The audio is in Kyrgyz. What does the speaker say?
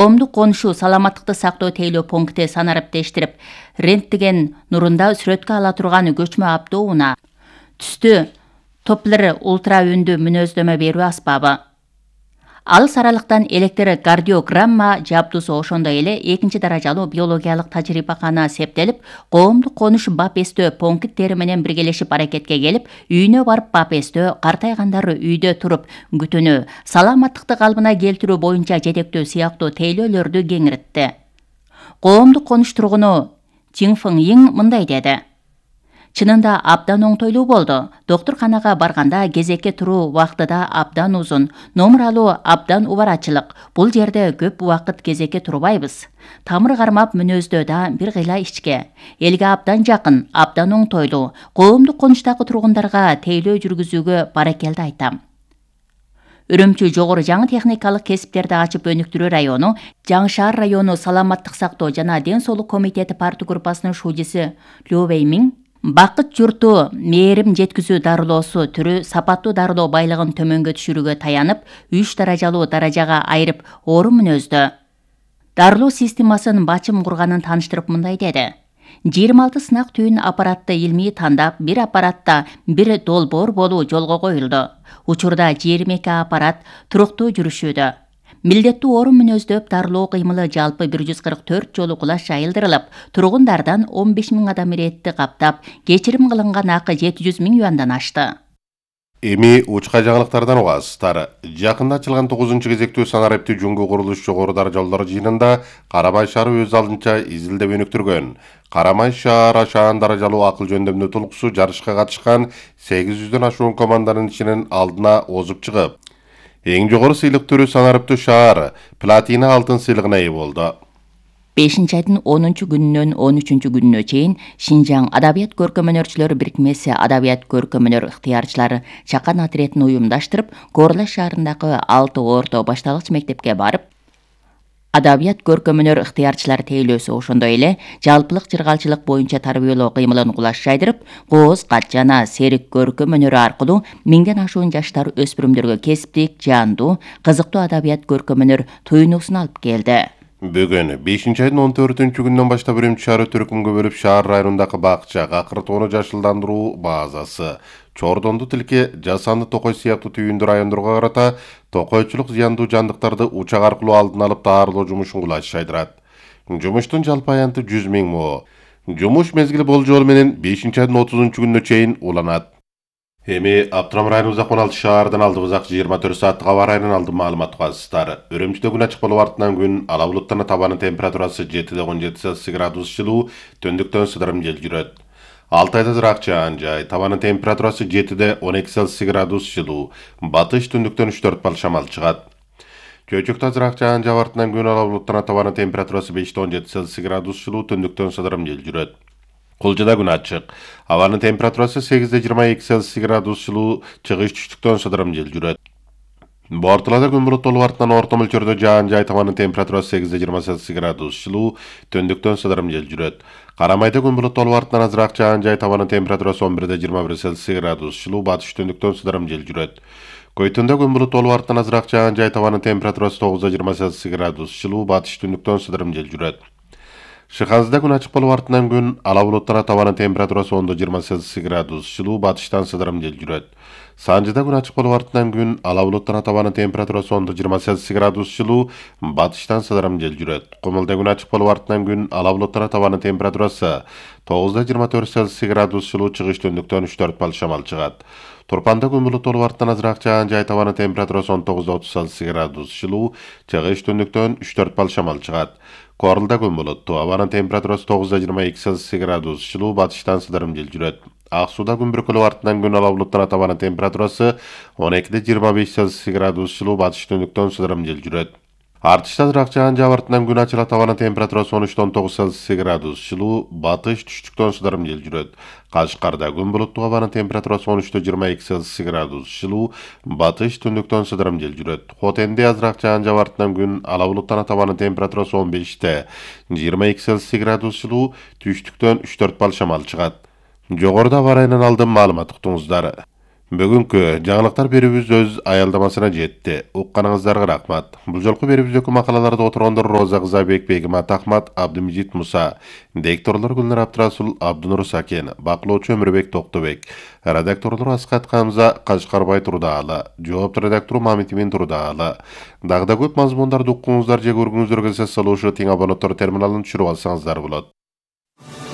Коомдук конушу саламаттыкты сактоо тейлөө пункти санариптештирип, рентген нурунда сүрөткө ала турган көчмө автоунаа түстү Doppler ультра үндүү мүнөздөмө берүү аспабы. Алыс аралыктан электрокардиограмма жабдусу ошондой эле экинчи даражалуу биологиялык тажрыйбакана септелип, коомдук конуш бап эстөө пункттери менен биргелешип аракетке келип, үйүнө барып бап эстөө, картайгандар үйдө туруп күтүүнү, саламаттыкты калыбына келтирүү боюнча жетектөө сыяктуу тейлөөлөрдү кеңиретти. Коомдук конуш тургуну Тиңфың Йиң мындай деди. Чынында абдан оңтойлуу болду. Доктурканага барганда кезекке туруу убакыты да абдан узун. Номер алуу абдан убарачылык. Бул жерде көп убакыт кезекке турбайбыз. Тамыр кармап мүнөздөө да бир кыйла ичке. Элге абдан жакын, абдан оңтойлуу. Коомдук конуштагы тургундарга тейлөө жүргүзүүгө баракелди айтам. Үрүмчү жогору жаңы техникалык кесиптерди ачып өнүктүрүү району, Жаңы шаар району саламаттык сактоо жана ден соолук комитети парты группасынын шужиси Лю Вэймиң Бакыт журту мээрим жеткизүү дарылоосу түрү сапаттуу дарылоо байлыгын төмөнгө түшүрүүгө таянып, 3 даражалуу даражага айырып оору мүнөздө дарылоо системасын бачым курганын тааныштырып мындай деди. 26 сынак түйүн аппаратты илмий тандап, бир аппаратта бир долбоор болуу жолго коюлду. Учурда 22 аппарат туруктуу жүрүшүүдө. Милдеттүү оору мүнөздөп дарылоо кыймылы жалпы 144 жолу кулаш жайылдырылып, тургундардан 15 000 адам иретти каптап, кечирим кылынган акы 700 000 юандан ашты. Эми учка жаңылыктардан угасыздар. Жакында ачылган 9-кезектүү санариптүү жуңгу курулуш жогору даражалуулар жыйынында Карамай шаары өз алдынча изилдеп өнүктүргөн. Карамай шаары ашаан даражалуу акыл жөндөмдүү толкусу жарышка катышкан 800дөн ашуун команданын ичинен алдына озуп чыгып, эң жогору сыйлык түрү санариптүү шаар платина алтын сыйлыгына ээ болду. 5-айдын 10-күнүнөн 13-күнүнө чейин Шинжаң Адабият көркөм-өнөрчүлөр бирикмеси Адабият көркөм-өнөр ыктыярчылары чакан отрядын уюмдаштырып, Горлаш шаарындагы 6 орто башталгыч мектепке барып, Адабият көркөм-өнөр ыктыярчылар тейлөөсү ошондой эле жалпылык жыргалчылык боюнча тарбиялоо кыймылын кулаш жайдырып, кооз, кат жана серик көркөм-өнөрү аркылуу миңден ашуун жаштар өспүрүмдөргө кесиптик, жандуу, кызыктуу адабият көркөм-өнөр туйнуусун алып келди. Бүгүн 5-айдын 14-күнүнөн баштап Үрүмчү шаары түркүмгө бөлүп шаар районундагы бакча, акыр тоону жашылдандыруу базасы, Чордонду тилке, жасанды токой сыяктуу түйүндүү райондорго карата токойчулук зыяндуу жандыктарды учак аркылуу алдын алып даарылоо жумушун кулаш жайдырат. Жумуштун жалпы аянты 100 000 мо. Жумуш мезгили болжол менен 5-айдын 30-күнүнө чейин уланат. Эми Аптырам районубузда 16 шаардан алдыбызак 24 сааттык аба ырайынан алдым маалымат угасыздар. Үрүмчүдө күн ачык болуп артынан күн ала булуттан табанын температурасы 7-17 градус жылуу, түндүктөн сыдырым жел жүрөт. Алтайда ырак жаан жай, табанын температурасы 7-12 градус жылуу, батыш түндүктөн 3-4 бал шамал чыгат. Чөйчөктө ырак жаан жаап артынан күн ала булуттан табанын температурасы 5-17 градус жылуу, түндүктөн сыдырым жел жүрөт. Кулжада күн ачык. Абанын температурасы 8-22 градус жылуу, чыгыш түштүктөн сыдырым жел жүрөт. Бортулада күн булуттуу артынан орто мөлчөрдө жаан жай, табанын температурасы 8-28 градус жылуу, түндүктөн сыдырым жел жүрөт. Карамайда күн булуттуу артынан азыраак жаан жай, табанын температурасы 11-21 градус жылуу, батыш түндүктөн сыдырым жел жүрөт. Көйтүндө күн булуттуу артынан азыраак жаан жай, табанын температурасы 9-28 градус жылуу, батыш түндүктөн сыдырым жел жүрөт. Шыханзыда күн ачык болуп артынан күн ала булуттан табанын температурасы 10-28 градус жылуу, батыштан сыдырым жел жүрөт. Санжыда күн ачык болуп артынан күн ала булуттан табанын температурасы 10-28 градус жылуу, батыштан сыдырым жел жүрөт. Кумулда күн ачык болуп артынан күн ала булуттан табанын температурасы 9-24 градус жылуу, чыгыш түндүктөн 3-4 бал шамал чыгат. Турпанда күн булуттуу артынан азыраак жаан жай, табанын температурасы 19-30 градус жылуу, чыгыш түндүктөн 3-4 бал шамал чыгат. Корулда күн булуттуу, абанын температурасы 9-22 градус жылуу, батыштан сыдырым жел жүрөт. Ак сууда күн бүркөлүп артынан күн ала булуттан табанын температурасы 12-25 градус жылуу, батыш түндүктөн сыдырым жел жүрөт. Артышта ырак жаан жаап артынан күн ачыла, табанын температурасы 13-19 градус жылуу, батыш түштүктөн сыдырым жел жүрөт. Кашкарда күн булуттуу, абанын температурасы 13-22 градус жылуу, батыш түндүктөн сыдырым жел жүрөт. Хотенде азыраак жаан жаап артынан күн ала булуттан табанын температурасы 15-22 градус жылуу, түштүктөн 3-4 бал шамал чыгат. Жогоруда аба ырайынан алдым маалымат уктуңуздар. Бүгүнкү жаңылыктар берүүбүз өз аялдамасына жетти. Укканыңыздарга рахмат. Бул жолку берүүбүздөгү макалаларда отургондор Роза Кызабек, Бегимат Ахмат, Абдымижит Муса, дикторлор Гүлнар Абдрасул, Абдынур Сакен, баклоочу Өмүрбек Токтобек, редакторлор Аскат Камза, Кашкарбай Турдаалы, жоопту редактору Мамитимин Турдаалы. Дагы да көп мазмундарды уккуңуздар же көргүңүздөр келсе салуушу тең абоненттер терминалын түшүрүп алсаңыздар болот.